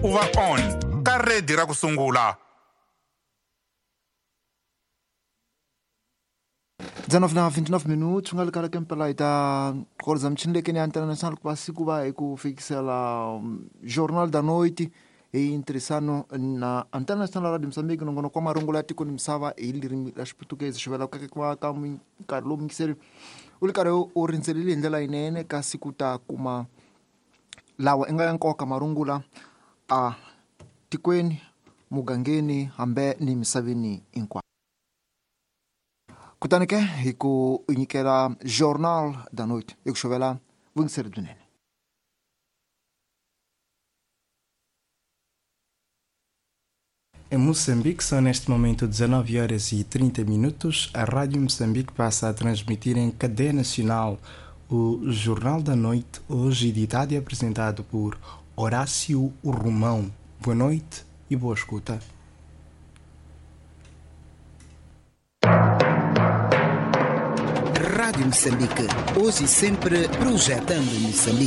U va on ka redi ra ku sungula. 19 na 29 minutos nga likala kempela hi ta korza michini lekeni ya international ku va siku va hi ku fikisela Jornal da Noite hi ntirhisano na International Radio Mozambique, nongonoko wa marungulo ya tiko ni misava hi ririmi ra Xiputukezi. Xivela ku va ka nkarhi lowu muyingiseri u ri karhi u rindzelile hi ndlela yinene, kasi ku ta kuma lawa i nga ya nkoka marungula a tikweni, mugangeni, hambe ni misaveni hinkwayo. Kutani ke hi ku nyikela Jornal da Noite, hi ku xovela vuyingiseri byinene. Em Moçambique são neste momento 19 horas e 30 minutos. A Rádio Moçambique passa a transmitir em cadeia nacional o Jornal da Noite, hoje editado e apresentado por Horácio Romão. Boa noite e boa escuta. Rádio Moçambique, hoje e sempre projetando Moçambique.